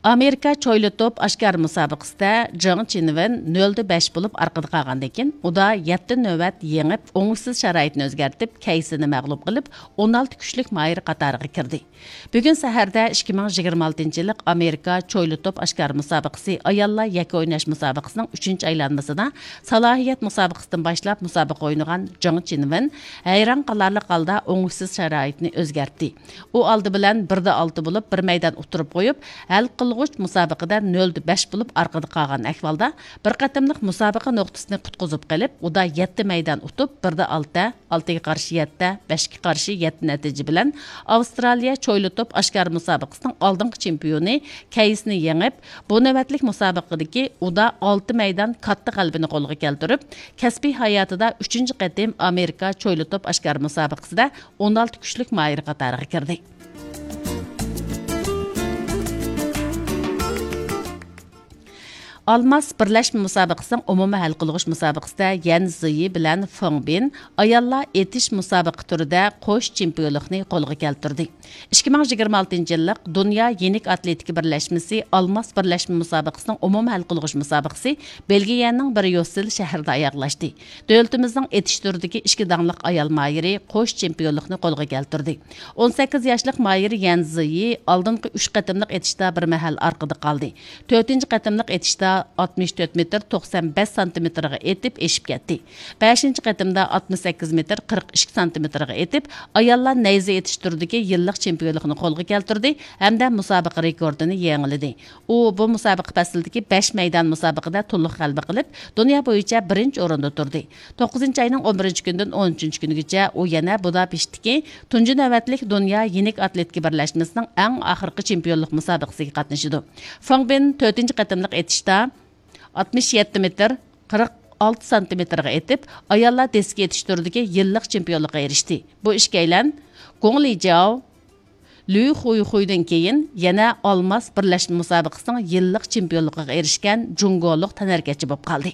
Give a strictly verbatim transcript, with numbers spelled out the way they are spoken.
ئامېرىكا چويلا توپ ئاشكارا مۇسابىقىسىدە جېڭ چىنۋېن نۆلدە بەش بولۇپ ئارقىدا قالغاندىن كېيىن، ئۇدا يەتتە نۆۋەت يېڭىپ، ئوڭۇشسىز شارائىتنى ئۆزگەرتىپ، كەيسىنى مەغلۇپ قىلىپ، ئون ئالتە كۈچلۈك ماھىر قاتارىغا كىردى. بۈگۈن سەھەردە ئىككى مىڭ يىگىرمە ئالتىنچى يىللىق ئامېرىكا چويلا توپ ئاشكارا مۇسابىقىسى ئاياللار يەككە ئويناش مۇسابىقىسىنىڭ ئۈچىنچى ئايلانمىسىدا سالاھىيەت مۇسابىقىسىدىن باشلاپ مۇسابىقە ئوينىغان جېڭ چىنۋېن ھەيران قالارلىق ھالدا ئوڭۇشسىز شارائىتنى ئۆزگەرتتى. ئۇ ئالدى بىلەن بىر دە ئالتە بولۇپ، بىر مەيدان ئۇتتۇرۇپ قويۇپ، ھەل قىلغۇچ مۇسابىقىدە نۆلدە بەش بولۇپ ئارقىدا قالغان ئەھۋالدا، بىر قېتىملىق مۇسابىقە نۇقتىسىنى قۇتقۇزۇپ قېلىپ، ئۇدا يەتتە مەيدان ئۇتۇپ، بىر دە ئالتە، ئالتىگە قارشى يەتتە، بەشكە قارشى يەتتە نەتىجە بىلەن ئاۋسترالىيە چويلا توپ ئاشكارا مۇسابىقىسىنىڭ ئالدىنقى چېمپىيونى كەيسنى يېڭىپ، بۇ نۆۋەتلىك مۇسابىقىدىكى ئۇدا ئالتە مەيدان كاتتا غەلىبىنى قولغا كەلتۈرۈپ، كەسپىي ھاياتىدا ئۈچىنچى قېتىم ئامېرىكا چويلا توپ ئاشكارا مۇسابىقىسىدە ئون ئالتە كۈچلۈك ماھىر قاتارىغا كىردى. ئالماس بىرلەشمە مۇسابىقىسىنىڭ ئومۇمىي ھەل قىلغۇچ مۇسابىقىسىدە يەن زىيى بىلەن فېڭ بىن ئاياللار ئېتىش مۇسابىقە تۈرىدە قوش چېمپىيونلۇقنى قولغا كەلتۈردى. ئىككى مىڭ يىگىرمە ئالتىنچى يىللىق دۇنيا يېنىك ئاتلېتىكا بىرلەشمىسى ئالماس بىرلەشمە مۇسابىقىسىنىڭ ئومۇمىي ھەل قىلغۇچ مۇسابىقىسى بېلگىيەنىڭ بريۇسسېل شەھىرىدە ئاياغلاشتى. دۆلىتىمىزنىڭ ئېتىش تۈرىدىكى ئىككى داڭلىق ئايال ماھىرى قوش چېمپىيونلۇقنى قولغا كەلتۈردى. ئون سەككىز ياشلىق ماھىر يەن زىيى ئالدىنقى ئۈچ قېتىملىق ئېتىشتا بىر مەھەل ئارقىدا قالدى. تۆتىنچى قېتىملىق ئېتىشتا ئاتمىش تۆت مېتىر توقسان بەش سانتىمېتىرغا ئېتىپ ئېشىپ كەتتى. بەشىنچى قېتىمدا ئاتمىش سەككىز مېتىر قىرىق ئىككى سانتىمېتىرغا ئېتىپ، ئاياللار نەيزە ئېتىش تۈرىدىكى يىللىق چېمپىيونلۇقنى قولغا كەلتۈردى ھەمدە مۇسابىقە رېكورتىنى يېڭىلىدى. ئۇ بۇ مۇسابىقە پەسلىدىكى بەش مەيدان مۇسابىقىدە تولۇق غەلىبە قىلىپ، دۇنيا بويىچە بىرىنچى ئورۇندا تۇردى. توققۇزىنچى ئاينىڭ ئون بىرىنچى كۈنىدىن ئون ئۈچىنچى كۈنىگىچە ئۇ يەنە بۇداپېشتتىكى تۇنجى نۆۋەتلىك دۇنيا يېنىك ئاتلېتىكا بىرلەشمىسىنىڭ ئەڭ ئاخىرقى چېمپىيونلۇق مۇسابىقىسىگە قاتنىشىدۇ. فېڭ بىن تۆتىنچى قېتىملىق ئېتىشتا ئاتمىش يەتتە مېتىر قىرىق ئالتە سانتىمېتىرغا ئېتىپ، ئاياللار دىسكا ئېتىش تۈرىدىكى يىللىق چېمپىيونلۇققا ئېرىشتى. بۇ ئىككىيلەن گوڭ لىجياۋ، لۈ خۇيخۇيدىن كېيىن يەنە ئالماس بىرلەشمە مۇسابىقىسىنىڭ يىللىق چېمپىيونلۇقىغا ئېرىشكەن جۇڭگولۇق تەنھەرىكەتچى بولۇپ قالدى.